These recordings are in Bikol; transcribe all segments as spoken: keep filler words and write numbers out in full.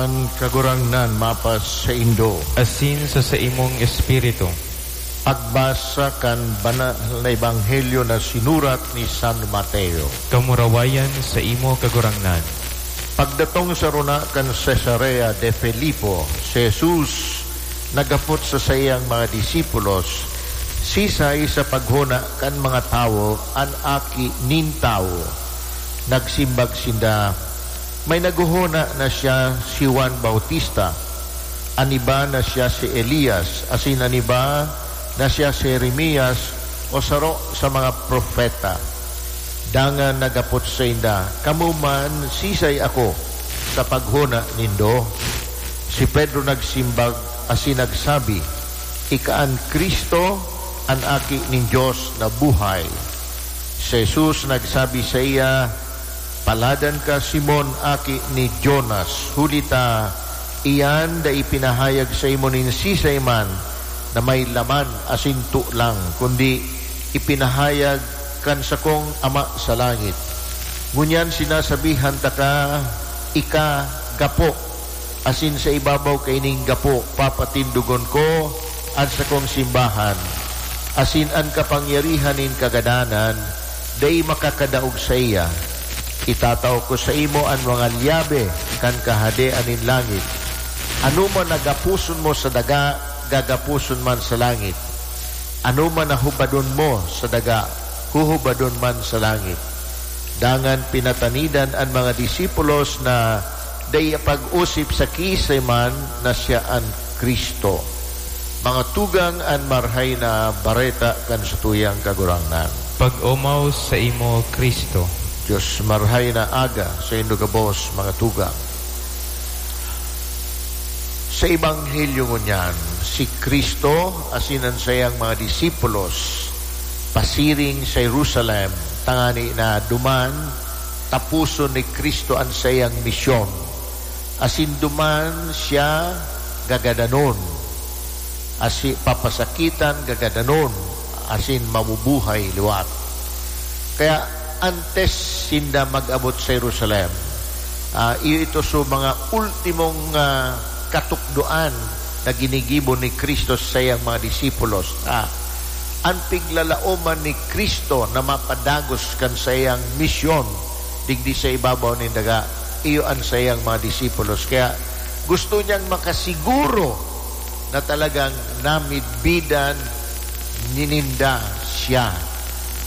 An Kagurangnan mapasaindo. Asin sa saimong espiritu. Pagbasa kan Banal na Ebanghelyo na sinurat ni San Mateo. Kamurawayan saimo, Kagurangnan. Pagdatong sa rona kan Cesarea de Filipo, si Jesus naghapot sa saiyang mga disipulos, "Sisay sa paghona kan mga tawo an Aki nin Tawo?" Nagsimbag sinda, "May naghohona na siya si Juan Bautista, an iba na siya si Elias, asin an iba na siya si Jeremias o saro sa mga propeta." Dangan naghapot sainda, "Kamo man, sisay ako sa paghona nindo?" Si Pedro nagsimbag asin nagsabi, "Ika an Cristo, an Aki nin Dios na buhay." Si Jesus nagsabi saiya, "Paladan ka, Simon, aki ni Jonas, huli ta iyan dai ipinahayag saimo nin sisay man na may laman asin tolang, kundi ipinahayag kan sakong Ama sa langit. Ngunyan sinasabihan taka, ika gapo, asin sa ibabaw kaining gapo papatindogon ko an sakong simbahan, asin an kapangyarihan nin kagadanan dai makakadaog saiya. Itatao ko saimo an mga lyabe kan Kahadean nin langit. Anoman na gaposon mo sa daga, gagaposon man sa langit. Anoman na hubadon mo sa daga, huhubadon man sa langit." Dangan pinatanidan an mga disipulos na dai pag-osip sa kiisay man na siya an Cristo. Mga tugang, an Marahay na Bareta kan satuyang Kagurangnan. Pag-omaw saimo, Cristo. Dios, Marahay na Aga saindo gabos, mga tugang. Sa Ebanghelyo ngunyan, si Cristo asin an saiyang mga disipulos pasiring sa Jerusalem, tangani na duman taposon ni Cristo an saiyang misyon, asin duman siya gagadanon, asi-, papasakitan, gagadanon, asin mabubuhay liwat. Kaya antes sinda mag-abot sa Jerusalem, ah, iyo ito so mga ultimong, ah, katukdoan na ginigibo ni Cristo sa saiyang mga disipulos. Ah, an piglalaoman ni Cristo na mapadagos kan saiyang misyon digdi sa ibabaw nin daga, iyo an saiyang mga disipulos. Kaya gusto niyang makasiguro na talagang namidbidan ninda siya.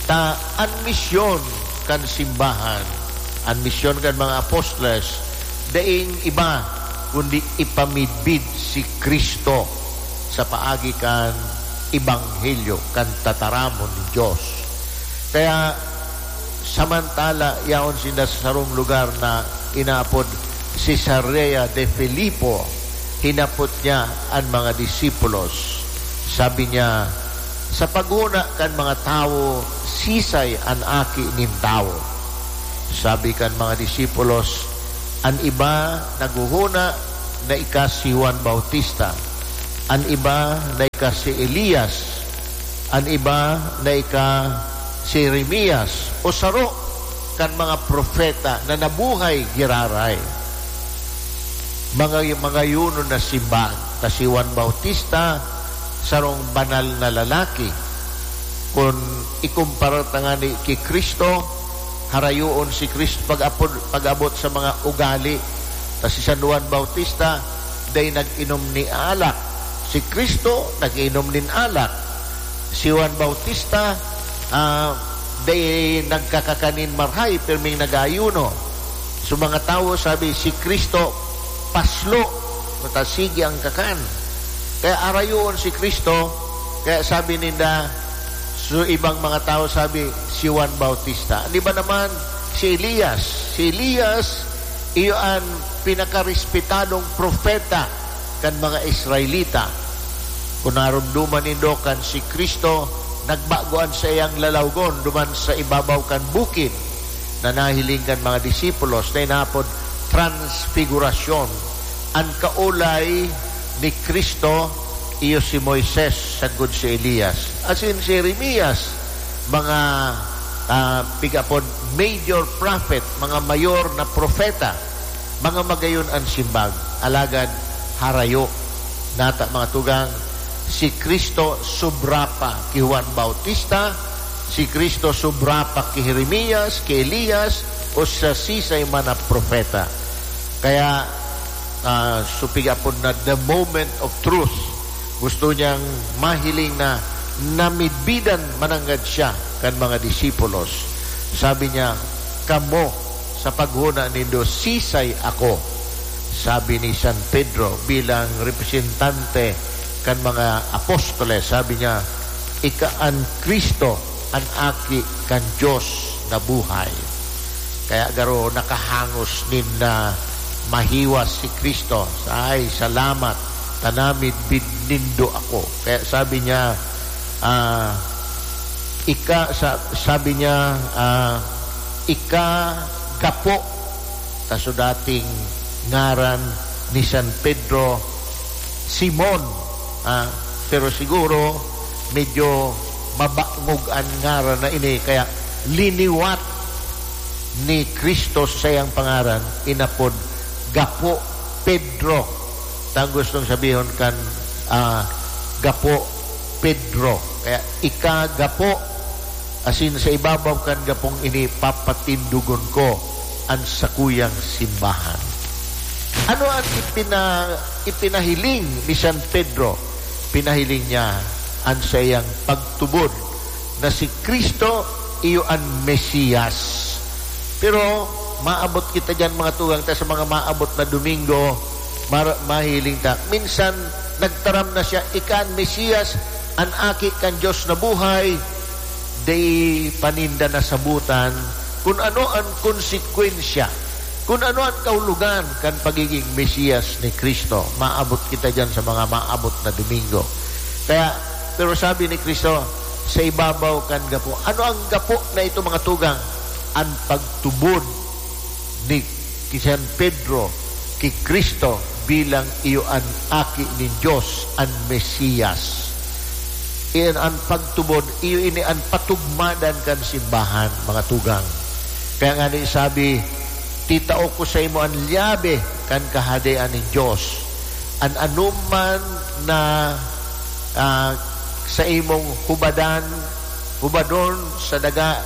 Ta an misyon kan simbahan, an misyon kan mga apostoles, daing iba kundi ipamidbid si Cristo sa paagi kan ebanghelyo kan tataramon nin Dios. Kaya, samantala yaon sinda sa sarong lugar na inaapod Cesarea de Filipo, hinapot niya an mga disipulos. Sabi niya, "Sa paghona kan mga tawo, sisay an Aki nin Tawo?" Sabi kan mga disipulos, "An iba naghohona na ika si Juan Bautista, an iba na ika si Elias, an iba na ika si Jeremias o saro kan mga propeta na nabuhay giraray." Mga, mga yunon na simbag, ta si Juan Bautista, sarong banal na lalaki. Kun ikumpara ta ngani ki Cristo, harayoon si Cristo pag-apod, pag-abot sa mga ugali. Ta si San Juan Bautista, dai nag-inom ni alak. Si Cristo, nag-inom nin alak. Si Juan Bautista, ah, dai nagkakakanin marhay, pirming nag-aayuno. So, mga tawo sabi, "Si Cristo, paslo, mata sige ang kakan." Kaya arayoon si Cristo, kaya sabi ninda, so, ibang mga tawo sabi, "Si Juan Bautista." An iba naman, "Si Elias." Si Elias, iyo an pinakarespetadong propeta kan mga Israelita. Kun naromdoman nindo kan si Cristo, nagbago an saiyang lalawgon duman sa ibabaw kan bukid na nahiling kan mga disipulos na inapod Transfigurasyon. An kaolay ni Cristo, iyo si Moises sagkod si Elias, asin si Jeremias, mga, ah, pigapod major prophet, mga mayor na propeta. Mga magayon an simbag, alagad harayo. Nata, mga tugang, si Cristo sobra pa ki Juan Bautista, si Cristo sobra pa ki Jeremias, ki Elias, o sa sisay man na propeta. Kaya, ah, supigapon na the moment of truth. Gusto niyang mahiling na namidbidan mananggad siya kan mga disipulos. Sabi niya, "Kamo, sa paghona nindo, sisay ako?" Sabi ni San Pedro bilang representante kan mga apostoles, sabi niya, "Ika an Cristo, an Aki kan Dios na buhay." Kaya garo nakahangos nin na mahiwas si Cristo. Ay, salamat, ta namidbid nindo ako. Kaya sabi niya, ah, ika, sa-, sabi niya, ah, "Ika gapo." Ta so dating ngaran ni San Pedro, Simon. Ah, pero siguro medyo mabangog an ngaran na ini, kaya liniwat ni Cristo sa saiyang pangaran, inapod Gapo Pedro. Ta gustong sabihon kan, ah, Gapo Pedro. Kaya, "Ika gapo, asin sa ibabaw kan gapong ini papatindogon ko an sakuyang simbahan." Ano an ipina-, ipinahiling ni San Pedro? Pinahiling niya an saiyang pagtubod na si Cristo iyo an Mesias. Pero maabot kita diyan, mga tugang, ta sa mga maabot na Domingo, mar-, mahiling ta. Minsan, nagtaram na siya, "Ika an Mesias, an Aki kan Dios na buhay." Dai pa ninda nasabotan kun ano an konsekwensya, kun ano an kahulogan kan pagigin Mesiyas ni Cristo. Maabot kita diyan sa mga maabot na Domingo. Kaya, pero sabi ni Cristo, "Sa ibabaw kan gapo." Ano an gapo na ito, mga tugang? An pagtubod ni, ki San Pedro ki Cristo bilang iyo an Aki nin Dios, an Mesiyas. Iyan an pagtubod, iyo ini an patugmadan kan simbahan, mga tugang. Kaya ngani sabi, "Titao ko saimo an lyabe kan Kahadean nin Dios. An anoman na, ah, saimong hubadan, hubadon sa daga,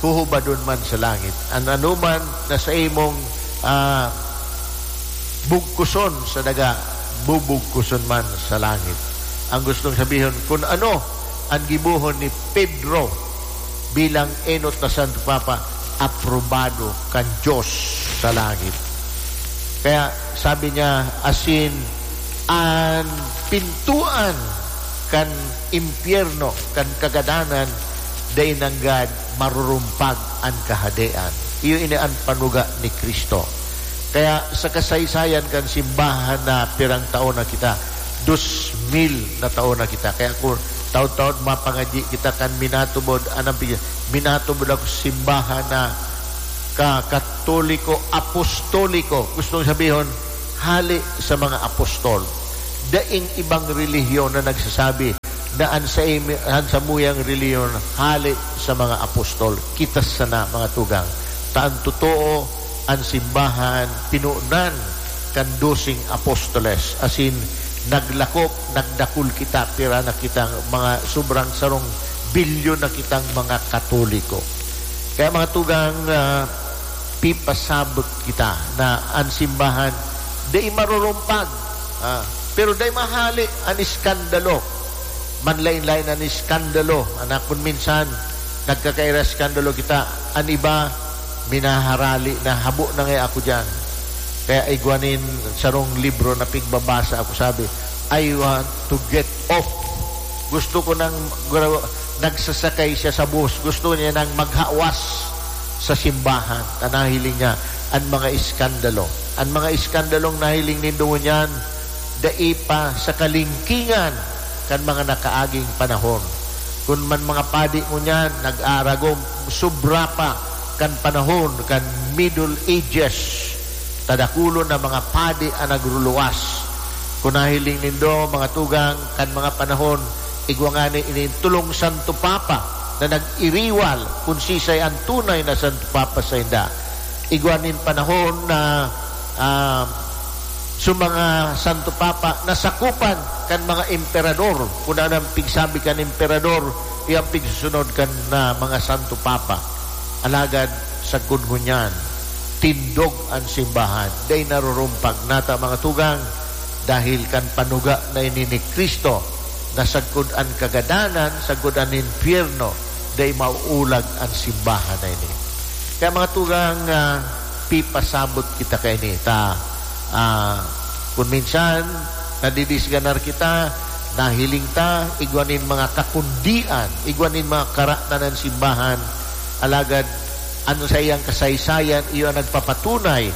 huhubadon man sa langit. An anoman na saimong, ah, bugkuson sa daga, bubugkuson man sa langit." Ang gustong sabihon, kun ano an gibohon ni Pedro bilang enot na Santo Papa, aprobado kan Dios sa langit. Kaya sabi niya, asin an pintuan kan impyerno, kan kagadanan, dai nanggad marurumpag an Kahadean. Iyo ini an panuga ni Cristo. Kaya sa kasaysayan kan simbahan na pirang taon na kita, dos mil na taon na kita. Kaya kung taon-taon mapangadyi kita kan minatubod, anong pig-, minatubod ako sa simbahan na ka-, Katoliko, Apostoliko. Gustong sabihon, hali sa mga apostol. Daing ibang relihiyon na nagsasabi na an sa imi-, an samuyang relihiyon hali sa mga apostol. Kita sana, mga tugang. Ta an totoo, an simbahan pinunan kan doseng apostoles, asin naglakop, nagdakul kita, pira na kitang mga sobrang sarong bilyon na kitang mga Katoliko. Kaya, mga tugang, ah, pipasabot kita na an simbahan dai marurumpag, ah, pero dai mahali an iskandalo. Manlaen-laen an iskandalo. An akon minsan, nagkakaira iskandalo kita. An iba, minaharali na, habo na ngaya ako diyan. Kaya igwa nin sarong libro na pigbabasa ako, sabi, "I want to get off." Gusto ko nang gra-, nagsasakay siya sa bus. Gusto niya nang maghawas sa simbahan. Ta nahiling niya an mga iskandalo. An mga iskandalong nahiling nindo ngunyan, dai pa sa kalingkingan kan mga nakaaging panahon. Kun man mga padi ngunyan nag-aaragom, sobra pa kan panahon kan Middle Ages. Ta dakulon na mga padi an nagruluwas. Kun nahiling nindo, mga tugang, kan mga panahon, igwa ngani ini tolong Santo Papa na nag-iriwal kun sisay an tunay na Santo Papa sainda. Igwa nin panahon na ah, sa mga Santo Papa, nasakopan kan mga emperador. Kun ano an pigsabi kan emperador, iyo an pigsusunod kan, ah, mga Santo Papa. Alagad sagkod ngunyan, tindog an simbahan, dai narurumpag. Nata, mga tugang, dahil kan panuga na ini ni Cristo, na sagkod an kagadanan, sagkod an impyerno, dai mauulag an simbahan na ini. Kaya, mga tugang, ah, pipasabot kita kaini. Ta, ah, kun minsan, nadidisganar kita, nahiling ta, igwa nin mga kakundian, igwa nin mga karatan an simbahan, alagad an saiyang kasaysayan, iyo an nagpapatunay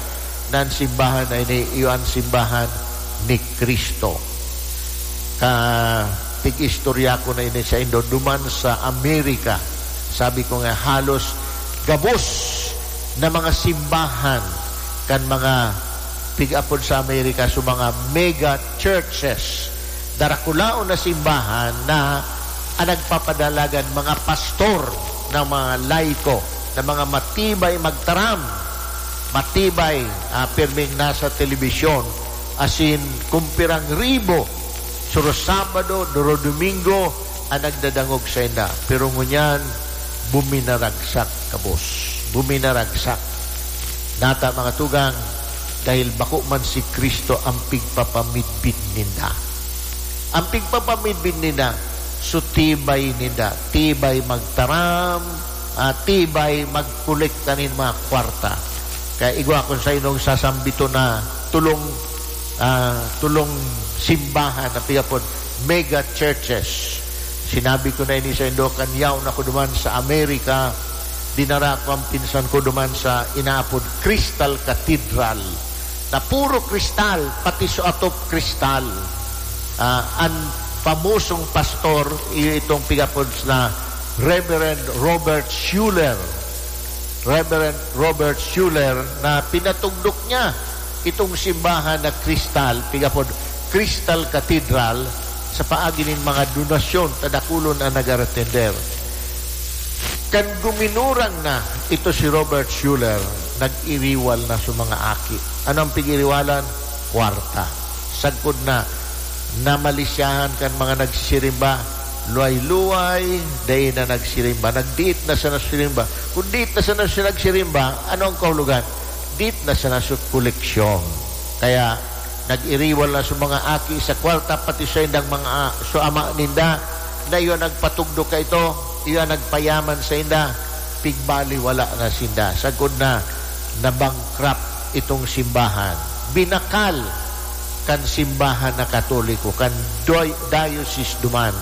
na an simbahan na ini, iyo an simbahan ni Cristo. Ka, tig-istorya ko na ini saindo, duman sa Amerika. Sabi ko nga, halos gabos na mga simbahan kan mga pig-apod sa Amerika, so mga mega churches, darakulaon na simbahan na ang nagpapadalagan mga pastor na mga laiko, na mga matibay magtaram, matibay, ah, pirming nasa telebisyon, asin kun pirang ribo, suro Sabado, duro Domingo, an nagdadangog sainda. Pero ngunyan, buminaragsak, kabos. Buminaragsak. Nata, mga tugang, dahil bako man si Cristo an pigpapamidbid ninda. An pigpapamidbid ninda, so tibay ninda, tibay magtaram, ah, tibay magkolekta nin mga kwarta. Kaya igwa kun sainong sasambiton na tulong, ah, tulong simbahan na pigapod mega churches. Sinabi ko na ini saindo, kan yaon ako duman sa Amerika, dinara ko an pinsan ko duman sa inaapod Crystal Cathedral, na puro kristal, pati so atop kristal. Ah, an famosong pastor, iyo itong pigapod na Reverend Robert Schuller. Reverend Robert Schuller, na pinatugdok niya itong simbahan na kristal, pigapod Crystal Cathedral, sa paagi nin mga donasyon, ta dakulon an nag-aratender. Kan guminurang na ito si Robert Schuller, nag-iriwal na sa mga aki. Ano ang pig-iriwalan? Kwarta. Sagkod na, namalisyahan kan mga nagsisirimba, luway-luway, dai na nagsirimba. Nagdiit na sana sirimba. Kun diit na sana siya nagsirimba, ano ang kahulogan? Diit na sana sa koleksyon. Kaya, nag-iriwal na sa mga aki sa kwarta, pati saindang mga a-, sa ama ninda, na iyo nagpatugdok kaito, iyo ang nagpayaman sainda, pigbaliwala na sinda. Sagkod na, nabankrupt itong simbahan. Binakal kan simbahan na Katoliko, kan doy-, diocese duman,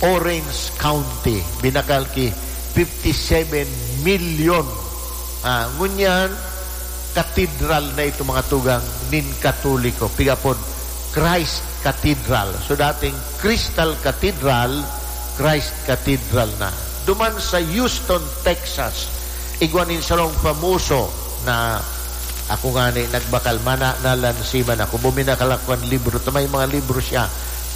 Orange County, binakal ki fifty-seven milyon. Ah, ngunyan, katedral na ito, mga tugang, nin Katoliko. Pigapod Christ Cathedral. So, dating Crystal Cathedral, Christ Cathedral na. Duman sa Houston, Texas, igwa nin sarong famoso na, ako ngani, nagbakal, mana-, nalansiman ako. Buminakal ako kan libro. Ta may mga libro siya.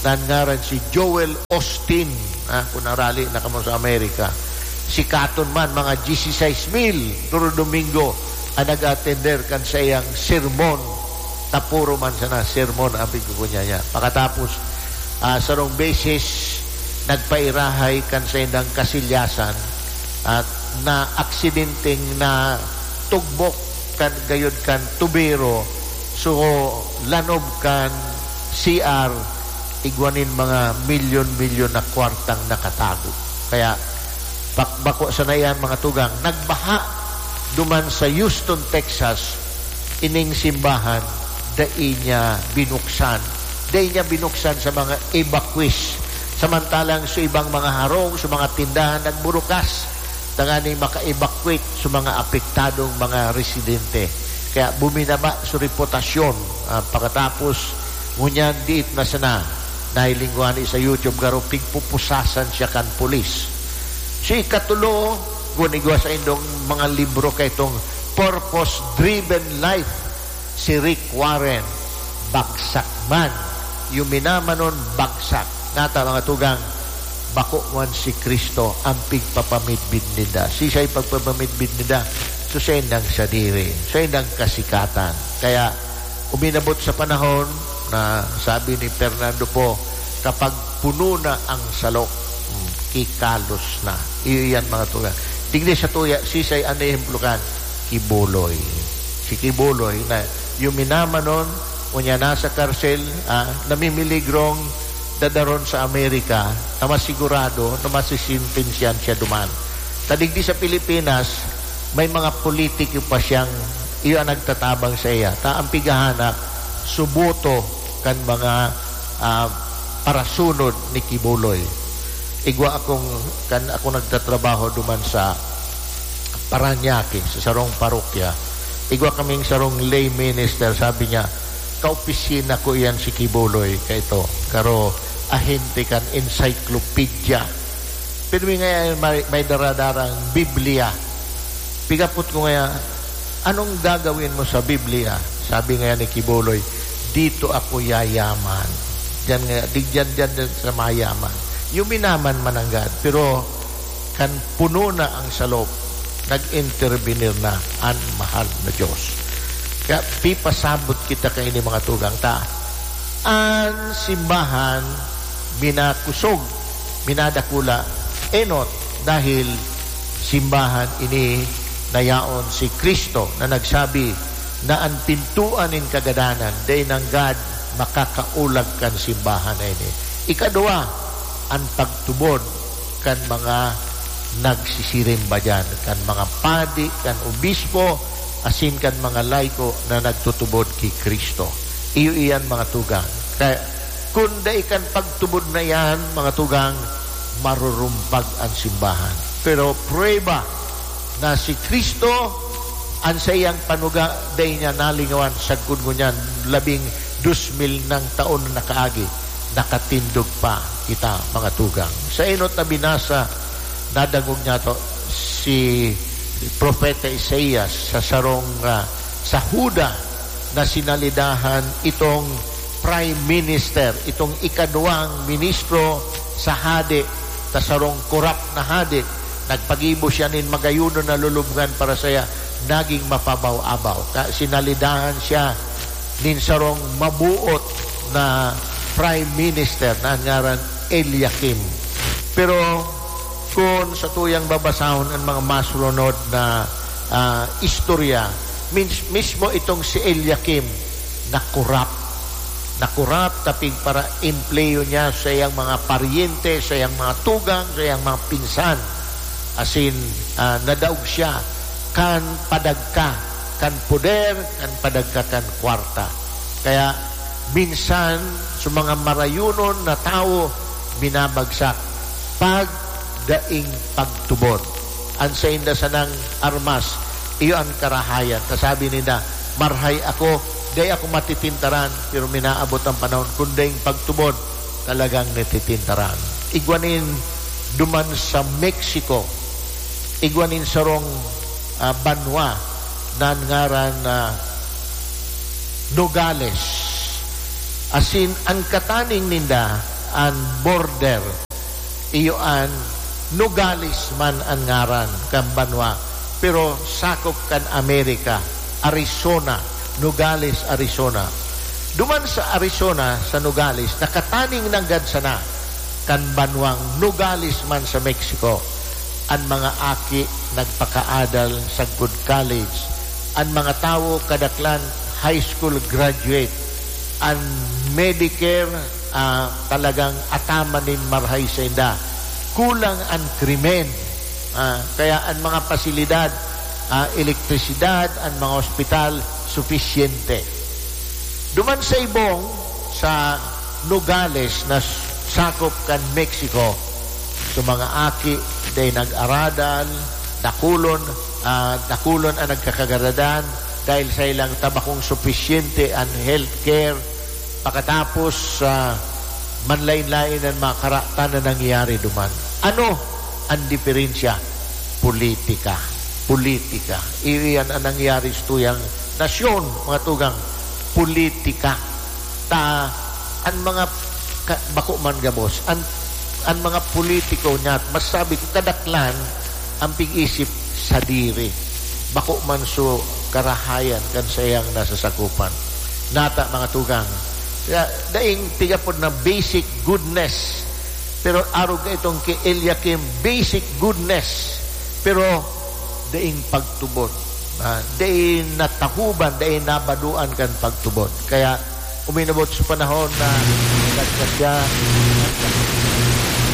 Na an ngaran si Joel Osteen. Ah, kun arali na kamo sa Amerika. Sikaton man, mga dieciséis mil, duro Domingo, ang nag-atender kan saiyang sermon. Ta puro man sana sermon ang pigkukunya niya. Pakatapos, ah, sarong beses, nagpairahay kan saindang kasilyasan at naaksidenteng natugbok kan gayod kan tubero, so lanob kan C R, igwa nin mga milyon-milyon na kwartang nakatago. Kaya, bak-, bako sana yan, mga tugang, nagbaha duman sa Houston, Texas, ining simbahan, dai niya binuksan. Dai niya binuksan sa mga evacuees. Samantalang sa ibang mga harong, sa mga tindahan, nagburukas tanganing maka-evacuate sa mga apektadong mga residente. Kaya buminaba sa reputasyon, ah, pakatapos ngunyan diit na sana. Nahiling ko ani sa YouTube, garo pigpupusasan siya kan pulis. Si ikatulo, kun igwa saindong mga libro kaitong Purpose Driven Life, si Rick Warren, bagsak man. Iyo minamanon, bagsak. Nata, mga tugang, bako man si Cristo ang pigpapamidbid ninda. Sisay pagpapamidbid ninda? So, saindang sadiri, saindang kasikatan. Kaya, uminabot sa panahon na sabi ni Fernando Poe, "Kapag puno na ang salok, hmm, kikalos na." Iyo yan, mga tugang. Digdi sa tuya, sisay an ehemplo kan? Quiboloy. Si Quiboloy na yuminamanon, unya nasa karsel, ah, namimiligrong dadaron sa Amerika na masigurado na masisentensyahan siya duman. Ta digdi sa Pilipinas, may mga politiko pa siyang iyo ang nagtatabang sa iya. Ta ang pighahanap, suboto kan mga, ah, parasunod ni Quiboloy. Igwa akong, kan ako nagtatrabaho duman sa Parañaque, sa sarong parokya. Igwa kaming sarong lay minister, sabi niya, "Kaopisina ko iyan si Quiboloy, kaito, karo ahente kan encyclopedia." Pero may, may, may daradarang Biblia. Pigapot ko ngaya, "Anong gagawin mo sa Biblia?" Sabi ngaya ni Quiboloy, "Dito ako yayaman." Diyan ngaya, di diyan, diyan, diyan sa mayaman. Yuminaman man nanggad, pero kan puno na ang salop, nag-intervenir na an mahal na Diyos. Kaya pipasabot kita kaini, mga tugang, ta an simbahan minakosog, minadakula, enot, dahil simbahan ini na yaon si Cristo na nagsabi na an pintoan nin kagadanan dai nanggad makakaulag kan simbahan na ini. Ikadua, an pagtubod kan mga nagsisirimba diyan, kan mga padi, kan obispo, asin kan mga laiko na nagtutubod ki Cristo. Iyo iyan, mga tugang. Kaya, kun dai kan pagtubod na iyan, mga tugang, marurumpag an simbahan. Pero prueba na si Cristo, an saiyang panuga, dai niya nalingawan sagkod ngunyan labing dos mil nang taon na nakaagi, nakatindog pa kita, mga tugang. Sa enot na binasa, nadangog niyato si Propeta Isaias sa sarong, ah, sa Juda na sinalidahan itong prime minister, itong ikaduwang ministro sa hade, sa sarong korap na hade. Nagpagibo siya nin magayonon na lulubngan para saya, naging mapabaw-abaw. Ka-, sinalidahan siya nin sarong mabuot na prime minister na an ngaran Eliakim. Pero kun satuyang babasahon an mga masulunod na, ah, istorya, mins-, mismo itong si Eliakim nakorap. Nakorap ta pigpara-empleyo niya sa iyang mga paryente, sa iyang mga tugang, sa iyang mga pinsan. Asin, ah, nadaog siya kan padagka kan poder, kan padagka kan kwarta. Kaya minsan, sa mga marayonon na tawo, binabagsak pag daing pagtubod. An sainda sanang armas, iyo an karahayan. Ta sabi ninda, "Marhay ako, dai ako matipintaran," pero minaabot an panahon, kun daing pagtubod, talagang natipintaran. Igwa nin duman sa Mexico, igwa nin sarong, ah, banwa na an ngaran na Nogales. Asin, an kataning ninda, an border, iyo an Nogales man an ngaran kan banwa, pero sakop kan Amerika, Arizona, Nogales, Arizona. Duman sa Arizona, sa Nogales, nakataning nanggad sana kan banwang Nogales man sa Mexico. An mga aki nagpakaadal sagkod college. An mga tawo kadaklan high school graduate. An Medicare, ah, talagang ataman nin marhay sainda. Kulang an krimen. Ah, kaya an mga pasilidad, ah, elektrisidad, an mga ospital, sufisyente. Duman sa ibong, sa Nogales na s-, sakop kan Mexico, so mga aki, dai nag-aradal, dakulon, ah, dakulon an nagkakagaradan dahil sa ilang tabakong sufisyente an healthcare. Pakatapos, ah, manlain-lain an mga karatan na nangyayari duman. Ano an diferensya? Politika. Politika. Iyan an nangyayari sa tuyang nasyon, mga tugang. Politika. Ta, an mga ka-, bako man gabos, an, an mga politiko niya, masabi ko, kadaklan, an pig-isip sadiri. bako man so karahayan kan saiyang nasasakopan. Nata, mga tugang, kaya daing pigapod na basic goodness, pero arog ka itong ki Eliakim, basic goodness, pero daing pagtubod. Ah, daing natahuban, daing nabadoan kan pagtubod. Kaya uminabot sa panahon na nagkasya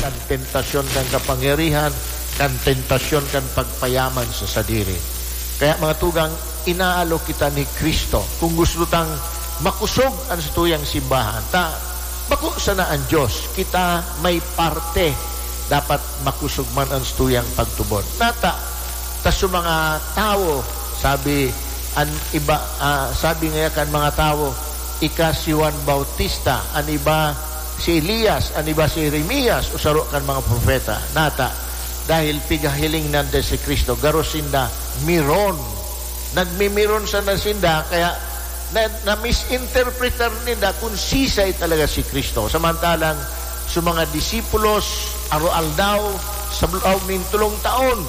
kan tentasyon kan kapangyarihan, kan tentasyon kan pagpayaman sa sadiri. Kaya, mga tugang, inaalok kita ni Cristo. Kung gusto tang makosog an satuyang simbahan, ta bako sana an Dios, kita may parte, dapat makosog man an satuyang pagtubod. Nata, ta sa mga tawo, sabi an iba, ah, sabi ngaya kan mga tawo, "Ika si Juan Bautista, an iba si Elias, an iba si Jeremias, o saro kan mga propeta." Nata, dahil pigahiling nanda si Cristo, garo sinda miron. Nagmimiron sana sinda, kaya na, na-misinterpretar ninda kung sisay talaga si Cristo. Samantalang sa mga disipulos, aro-aldaw, sa laog nin tolong taon,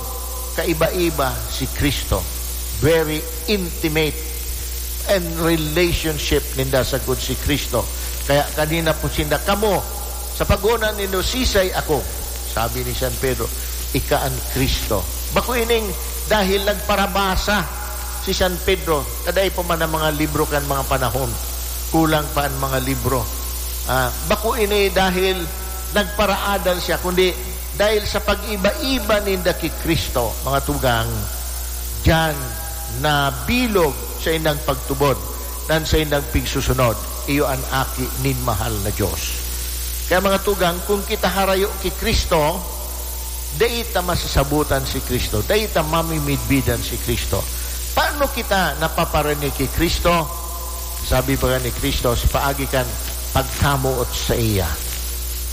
kaiba-iba si Cristo. Very intimate and relationship ninda sagkod si Cristo. Kaya kanina po sinda, "Kamo, sa pagona nindo, sisay ako?" Sabi ni San Pedro, "Ika an Cristo." Bako ining dahil nagparabasa si San Pedro, kadai pa man ang mga libro kan mga panahon, kulang pa ang mga libro. Ah, bako ini dahil nagparaadan siya, kundi dahil sa pag-iba-iba ninda ki Cristo, mga tugang, diyan nabilog sa indang pagtubod, nan sa indang pigsusunod, iyo an Aki nin mahal na Dios. Kaya, mga tugang, kung kita harayo ki Cristo, dai ta masasabotan si Cristo, dai ta mamimidbidan si Cristo. Paano kita napaparinig ki Cristo? Sabi baga ni Cristo, sa paagi kan pagkamoot saiya.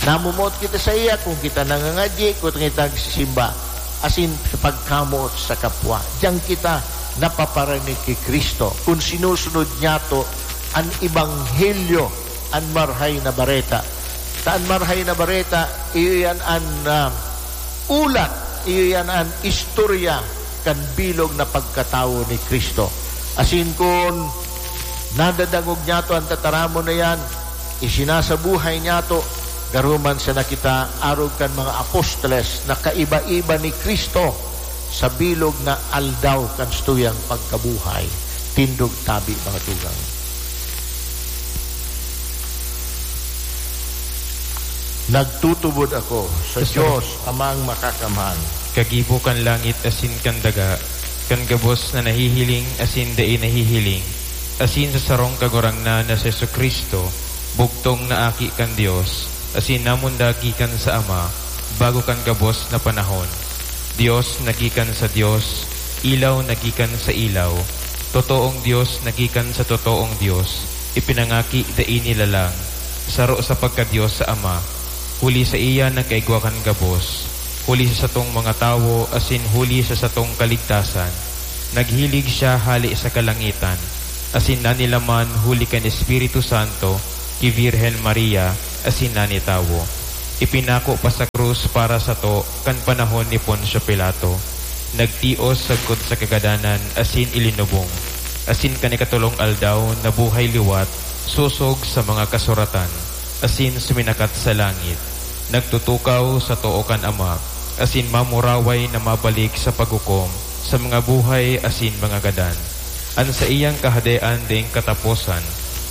Namomoot kita saiya kung kita nangangadyi, kung kita nagsisimba, asin sa pagkamoot sa kapwa. Diyan kita napaparinig ki Cristo, kung sinusunod niyato an ebanghelyo, an Marahay na Bareta. Ta an Marahay na Bareta, iyo yan an, ah, ulat, iyo yan an istorya kan bilog na pagkatawo ni Cristo. Asin kun nadadangog niyato an tataramon na yan, isinasabuhay niyato, garo man sana kita arog kan mga apostoles na kaiba-iba ni Cristo sa bilog na aldaw kan satuyang pagkabuhay. Tindog tabi, mga tugang. Nagtutubod ako sa Sa Dios, Amang Makakamhan. Kagibo kan langit asin kan daga, kan gabos na nahihiling asin dai nahihiling, asin sa sarong Kagurangnan na si Jesu-Cristo, bugtong na Aki kan Dios, asin namundag gikan sa Ama, bago kan gabos na panahon. Dios na gikan sa Dios, ilaw na gikan sa ilaw, totoong Dios na gikan sa totoong Dios, ipinangaki dai nilalang, saro sa pagka-Dios sa Ama, huli saiya nagkaigwa kan gabos, huli sa satong mga tawo asin huli sa satong kaligtasan, naghilig siya hale sa kalangitan, asin nanilaman huli kan Espiritu Santo ki Virgen Maria asin nanitawo. Ipinako pa sa krus para sato kan panahon ni Poncio Pilato. Nagtios sagkod sa kagadanan asin ilinubong, asin kan ikatolong aldaw nabuhay liwat sosog sa mga kasuratan, asin suminakat sa langit. Nagtutukaw sa too kan Ama, asin mamuraway na mabalik sa paghukom sa mga buhay asin mga gadan. An saiyang Kahadean daing kataposan,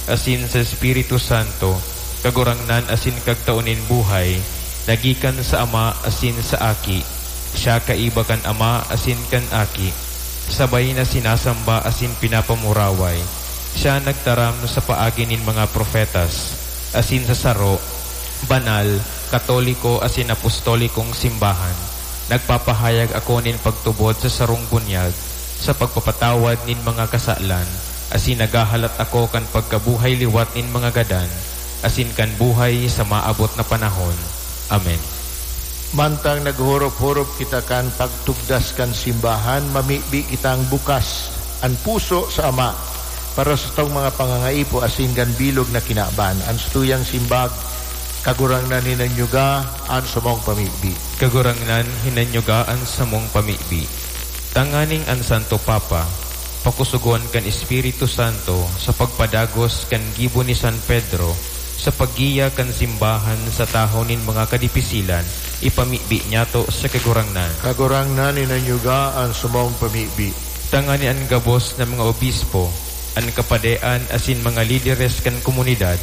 asin sa Espiritu Santo, Kagurangnan asin Kagtao nin buhay, na gikan sa Ama asin sa Aki. Siya kaiba kan Ama asin kan Aki, sabay na sinasamba asin pinapamuraway. Siya nagtaram sa paagi nin mga propetas, asin sa saro, banal, katoliko asin apostolikong simbahan. Nagpapahayag ako nin pagtubod sa sarong bunyag, sa pagpapatawad nin mga kasalan, asin naghahalat ako kan pagkabuhay liwat nin mga gadan, asin kan buhay sa maabot na panahon. Amen. Mantang naghorop-horop kita kan pagtugdas kan simbahan, mamibi kitang bukas an puso sa Ama para sa satong mga pangangaipo asin kan bilog na kinaban. An satuyang simbag, Kagurangnan, hinanyuga an samong pamibi. Kagurangnan, hinanyuga an samong pamibi. Tanganing an Santo Papa pakusugon kan Espiritu Santo sa pagpadagos kan gibo ni San Pedro sa paggiya kan simbahan sa tahaw nin mga kadipisilan, ipamibi niyato sa Kagurangnan. Kagurangnan, hinanyuga an samong pamibi. Tanganing an gabos na mga obispo, an kapadean asin mga lideres kan komunidad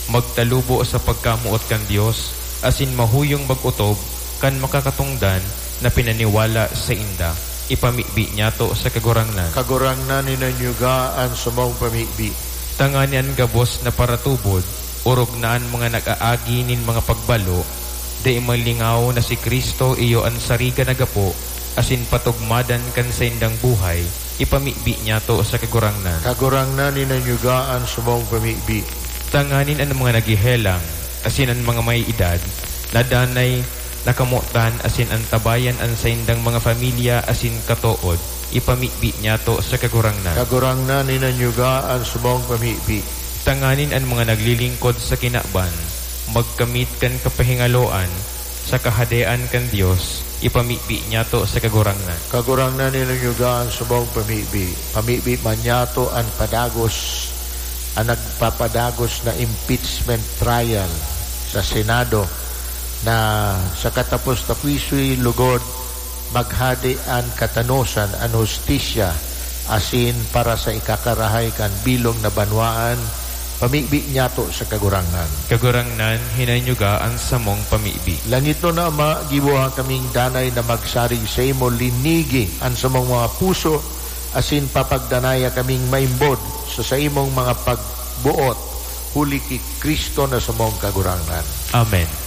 magtalubo sa pagkamoot kan Dios asin mahuyong mag-otob kan makakatongdan na pinaniwala sainda. Ipamibi niyato sa Kagurangnan. Kagurangnan, hinanyuga an samong pamibi. Tanganing an gabos na paratubod, orog na an mga nag-aagi nin mga pagbalo, dai malingaw na si Cristo iyo an sariga na gapo asin patugmadan kan saindang buhay, ipamibi niyato sa Kagurangnan. Kagurangnan, hinanyuga an samong pamibi. Tanganing an mga naghehelang asin an mga may edad, na danay nakamotan asin antabayan an saindang mga pamilya asin katood, ipamibi niyato sa Kagurangnan. Kagurangnan, hinanyuga an samong pamibi. Tanganing an mga naglilingkod sa kinaban magkamit kan kapahingaloan sa Kahadean kan Dios, ipamibi niyato sa Kagurangnan. Kagurangnan, hinanyuga an samong pamibi. Pamibi man niyato an padagos, an nagpapadagos na impeachment trial sa Senado, na sa katapos-taposoy lugod maghade an katanosan, an hustisya, asin para sa ikakarahay kan bilog na banwaan, pamibi niyato sa Kagurangnan. Kagurangnan, hinanyuga an samong pamibi. Langitnon na Ama, giboha kaming danay na magsarig saimo, linigi an samong mga puso, asin papagdanaya kaming maimbod sa saimong mga pagboot, huli ki Cristo na samong Kagurangnan. Amen.